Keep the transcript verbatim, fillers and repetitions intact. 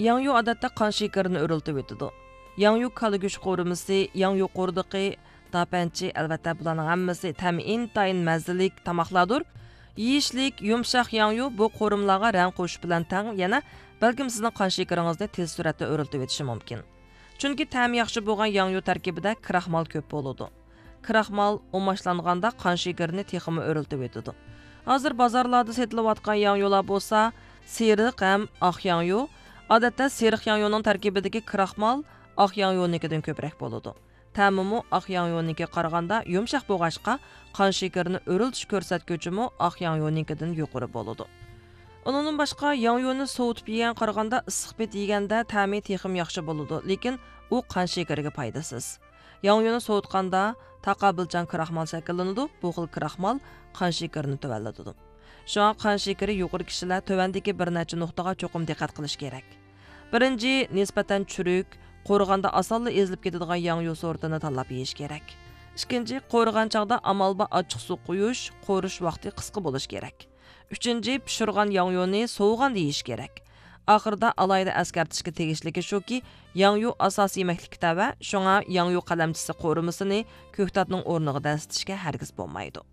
ياڭيۇ ئادەتتە قان شېكىرىنى ئۆرلىتىۋېتىدۇ. ياڭيۇ كالا گۆش قورۇمىسى، ياڭيۇ قوردىقى، داپەنچى، ئەلۋەتتە، بۇلارنىڭ ھەممىسى تەمى ئىنتايىن مەززىلىك تاماقلاردۇر. يېيىشلىك، يۇمشاق ياڭيۇ بۇ قورۇمىلارغا رەڭ قوشۇش بىلەن تەڭ، يەنە بەلكىم سىزنىڭ قان شېكىرىڭىزنى تېز سۈرئەتتە ئۆرلىتىۋېتىشى مۇمكىن. چۈنكى تەمى ياخشى بولغان ياڭيۇ تەركىبىدە كراخمال كۆپ بولىدۇ. كراخمال ئۇماچلانغاندا قان شېكىرىنى تېخىمۇ ئۆرلىتىۋېتىدۇ. ھازىر بازارلاردا سېتىلىۋاتقان ياڭيۇلار بولسا سېرىق ھەم ئاق ياڭيۇ. ئادەتتە سېرىق ياڭيۇنىڭ تەركىبىدىكى كراخمال ئاق ياڭيۇنىڭكىدىن كۆپرەك بولىدۇ. تەمىمۇ ئاق ياڭيۇنىڭكىگە قارىغاندا يۇمشاق بولغاچقا، قان شېكىرىنى ئۆرلىتىش كۆرسەتكۈچىمۇ ئاق ياڭيۇنىڭكىدىن يۇقىرى بولىدۇ. ئۇنىڭدىن باشقا، ياڭيۇنى سوۋۇتۇپ يېگەن قارىغاندا ئىسسىق پېتى يېگەندە تەمى تېخىمۇ ياخشى بولىدۇ، لېكىن ئۇ قان شېكىرىگە پايدىسىز. ياڭيۇنى سوۋۇتقاندا تاقابىلچان كراخمال شەكىللىنىدۇ، بۇ خىل كراخمال قان شېكىرىنى تۆۋەنلىتىدۇ. شۇڭا قان شېكىرى يۇقىرى كىشىلەر تۆۋەندىكى بىر نەچچە نۇقتىغا چوقۇم دىققەت قىلىش كېرەك. بىرىنچى، نىسبەتەن چۈرۈك، قورۇغاندا ئاسانلا ئېزىلىپ كېتىدىغان ياڭيۇ سورتىنى تاللاپ يېيىش كېرەك. ئىككىنچى، قورۇغان چاغدا ئامال بار ئاچچىق سۇ قۇيۇش، قورۇش ۋاقتى قىسقا بولۇشى كېرەك. ئۈچىنچى، پىشۇرغان ياڭيۇنى سوۋۇغاندا يېيىش كېرەك. ئاخىرىدا ئالاھىدە ئەسكەرتىشكە تېگىشلىكى شۇكى، ياڭيۇ ئاساسىي يېمەكلىككە تەۋە، شۇڭا ياڭيۇ قەلەمچىسى قورۇمىسىنى كۆكتاتنىڭ ئورنىغا دەسسىتىشكە ھەرگىز بولمايدۇ.